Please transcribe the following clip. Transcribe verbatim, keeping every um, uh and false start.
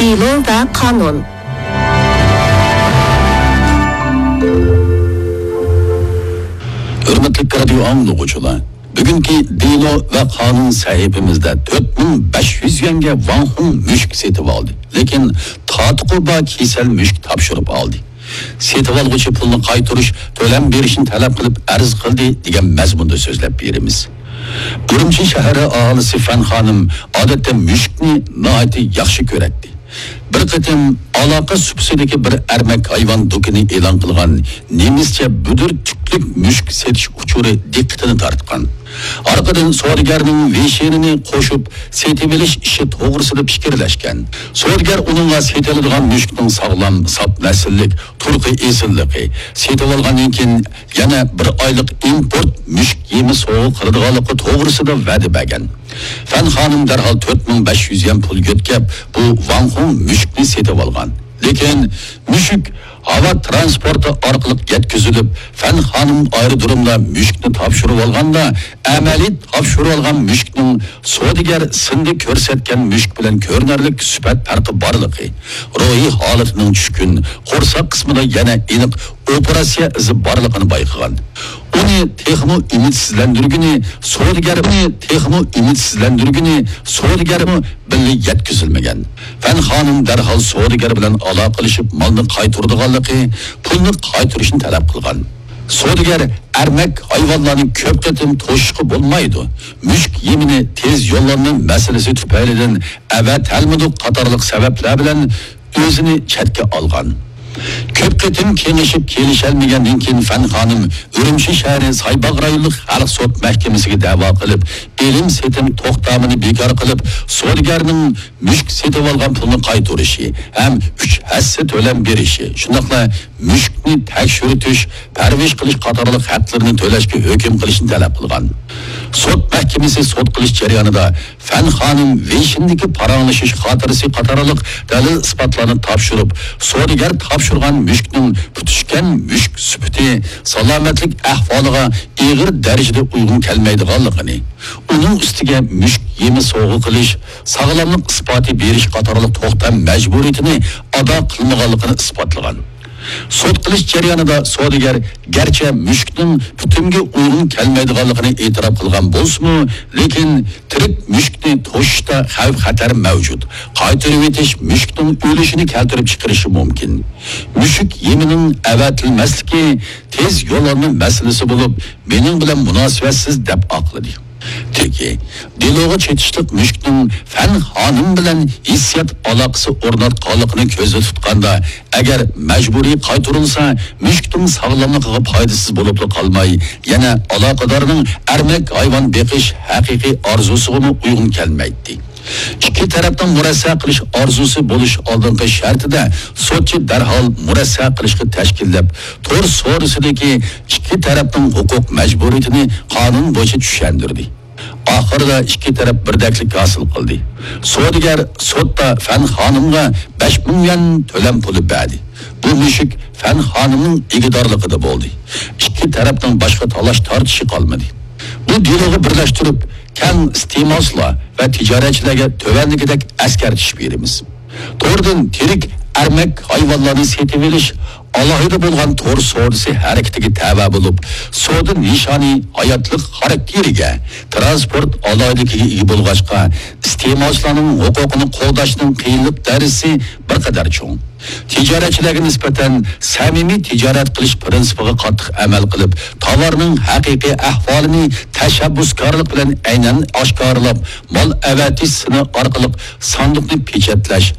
دېلو ۋە قانۇن. ھۆرمەتلىك رادىيو ئاڭلىغۇچىلار، بۈگۈنكى دېلو ۋە قانۇن سەھىپىمىزدە تۆت مىڭ بەش يۈز يۈەنگە ۋاڭ خۇڭ مۈشۈك سېتىۋالدى، لېكىن تاتىقى بار كېسەل مۈشۈك تاپشۇرۇپ ئالدى. سېتىۋالغۇچى پۇلنى قايتۇرۇش، تۆلەم بېرىشنى تەلەپ قىلىپ ئەرز قىلدى، دېگەن مەزمۇندا سۆزلەپ بېرىمىز. ئۈرۈمچى شەھىرى ئاھالىسى فەن خانىم ئادەتتە مۈشۈكنى ناھايىتى ياخشى كۆرەتتى. بىر قېتىم ئالاقە سۇپىسىدىكى بىر ئەرمەك ھايۋان دۇكىنى ئېلان قىلغان نېمىسچە بۈدۈر تۈكلۈك مۈشۈك سېتىش ئۇچۇرى دىققىتىنى تارتقان. ئارقىدىن سودىگەرنىڭ ۋېيشىنىنى قوشۇپ سېتىۋېلىش ئىشى توغرىسىدا پىكىرلەشكەن. سودىگەر ئۇنىڭغا سېتىلىدىغان مۈشۈكنىڭ ساغلام، ساپ نەسىللىك، تۇرقى ئېسىللىقى، سېتىۋالغاندىن كېيىن يەنە بىر ئايلىق ئىمپورت مۈشۈك يېمى سوۋغا قىلىدىغانلىقى توغرىسىدا ۋەدە بەرگەن. فەن خانىم دەرھال تۆت مىڭ بەش يۈز يۈەن پۇل يۆتكەپ، بۇ ۋاڭ خۇڭ مۈشۈكنى سېتىۋالغان. لېكىن مۈشۈك ھاۋا تىرانسپورتى ئارقىلىق يەتكۈزۈلۈپ، فەن خانىم ئايرودرومدا مۈشۈكنى تاپشۇرۇۋالغاندا، ئەمەلىي تاپشۇرۇۋالغان مۈشۈكنىڭ سودىگەر سىندا كۆرسەتكەن مۈشۈك بىلەن كۆرۈنەرلىك سۈپەت پەرقى بارلىقى، روھىي ھالىتىنىڭ چۈشكۈن، قورساق قىسمىدا يەنە ئېنىق ئوپېراتسىيە ئىزى بارلىقىنى بايقىغان. ئۇنى تېخىمۇ ئۈمىدسىزلەندۈرگىنى سودىگەر، ئۇنى تېخىمۇ ئۈمىدسىزلەندۈرگىنى سودىگەرمۇ بىللە يەتكۈزۈلمىگەن. فەن خانىم دەرھال سودىگەر بىلەن ئالاقىلىشىپ، مالنى قايتۇرىدىغانلىقى، پۇلنى قايتۇرۇشنى تەلەپ قىلغان. سودىگەر ئەرمەك ھايۋانلارنى كۆپ قېتىم توشۇشقا بولمايدۇ. مۈشۈك يېمىنى تېز يوللانما مەسىلىسى تۈپەيلىدىن ئەۋەتەلمىدۇق قاتارلىق سەۋەبلەر بىلەن ئۆزىنى چەتكە ئالغان. كۆپ قېتىم كېڭىشىپ كېلىشەلمىگەندىن كېيىن، فەن خانىم ئۈرۈمچى شەھىرى سايباغ رايونلۇق خەلق سوت مەھكىمىسىگە دەۋا قىلىپ، ئېلىم سېتىم توختامىنى بىكار قىلىپ، سودىگەرنىڭ مۈشۈك سېتىۋالغان پۇلنى قايتۇرۇشى ھەم ئۈچ ھەسسە تۆلەم بېرىشى، شۇنداقلا مۈشۈكنى تەكشۈرتۈش، پەرۋىش قىلىش قاتارلىق ھەقلىرىنى تۆلەشكە ھۆكۈم قىلىشنى تەلەپ قىلغان. سوت مەھكىمىسى سوت قىلىش جەريانىدا فەن خانىم ۋېيشىندىكى پاراڭلىشىش خاتىرىسى قاتارلىق دەلىل-ئىسپاتلارنى تاپشۇرۇپ، سودىگەر تاپشۇرغان مۈشۈكنىڭ پۈتۈشكەن مۈشۈك سۈپىتى، سالامەتلىك ئەھۋالىغا ئېغىر دەرىجىدە ئۇيغۇن كەلمەيدىغانلىقىنى، ئۇنىڭ ئۈستىگە مۈشۈك يېمى سوۋغا قىلىش، ساغلاملىق ئىسپاتى بېرىش قاتارلىق توختام مەجبۇرىيىتىنى ئادا قىلمىغانلىقىنى ئىسپاتلىغان. سوت قىلىش جەريانىدا سودىگەر گەرچە مۈشۈكنىڭ پۈتۈمگە ئۇيغۇن كەلمەيدىغانلىقىنى ئېتىراپ قىلغان بولسىمۇ، لېكىن تىرىك مۈشۈكنى توشۇشتا خەۋپ-خەتەر مەۋجۇت. قايتۇرۇۋېتىش مۈشۈكنىڭ ئۆلۈشىنى كەلتۈرۈپ چىقىرىشى مۇمكىن. مۈشۈك يېمىنىڭ ئەۋەتىلمەسلىكى تېز يوللانما مەسىلىسى بولۇپ، مېنىڭ بىلەن مۇناسىۋەتسىز، دەپ ئاقلىدى. تېكى، دېلوغا چېتىشلىق مۈشۈكنىڭ فەن خانىم بىلەن ھېسسىيات ئالاقىسى ئورناتقانلىقىنى كۆزدە تۇتقاندا، ئەگەر مەجبۇرىي قايتۇرۇلسا، مۈشۈكنىڭ ساغلاملىقىغا پايدىسىز بولۇپلا قالماي، يەنە ئالاقىدارنىڭ ئەرمەك ھايۋان بېقىش ھەقىقىي ئارزۇسىغىمۇ ئۇيغۇن كەلمەيتتى. ئىككى تەرەپنىڭ مۇرەسسە قىلىش ئارزۇسى بولۇش ئالدىنقى شەرتىدە، سوتچى دەرھال مۇرەسسە قىلىشقا تەشكىللەپ، تور سودىسىدىكى ئىككى تەرەپنىڭ ھوقۇق مەجبۇرىيىتىنى قانۇن بويىچە چۈشەندۈردى. ئاخىرىدا ئىككى تەرەپ بىردەكلىك ھاسىل قىلدى. سودىگەر سوتتا فەن خانىمغا بەش مىڭ يۈەن تۆلەم پۇلى بەردى. بۇ مۈشۈك فەن خانىمنىڭ ئىگىدارلىقىدا بولدى. ئىككى تەرەپنىڭ باشقا تالاش-تارتىشى قالمىدى. بۇ دېلوغا بىرلەشتۈرۈپ، كەڭ ئىستېمالچىلار ۋە تىجارەتچىلەرگە تۆۋەندىكىدەك ئەسكەرتىش بېرىمىز. توردىن تىرىك ئەرمەك ھايۋانلارنى سېتىۋېلىش ئالاھىدە بولغان تور سودىسى ھەرىكىتىگە تەۋە بولۇپ، سودا نىشانى ھاياتلىق خاراكتېرىگە، تىرانسپورت ئالاھىدىلىكىگە ئىگە بولغاچقا، ئىستېمالچىلارنىڭ ھوقۇقىنى قوغداشنىڭ قىيىنلىق دەرىجىسى بىر قەدەر چوڭ. تىجارەتچىلەرگە نىسبەتەن سەمىمىي تىجارەت قىلىش پىرىنسىپىغا قاتتىق ئەمەل قىلىپ، تاۋارنىڭ ھەقىقىي ئەھۋالىنى تەشەببۇسكارلىق بىلەن ئەينەن ئاشكارىلاپ، مال ئەۋەتىش سىنى ئارقىلىق ساندۇقنى پېچەتلەش،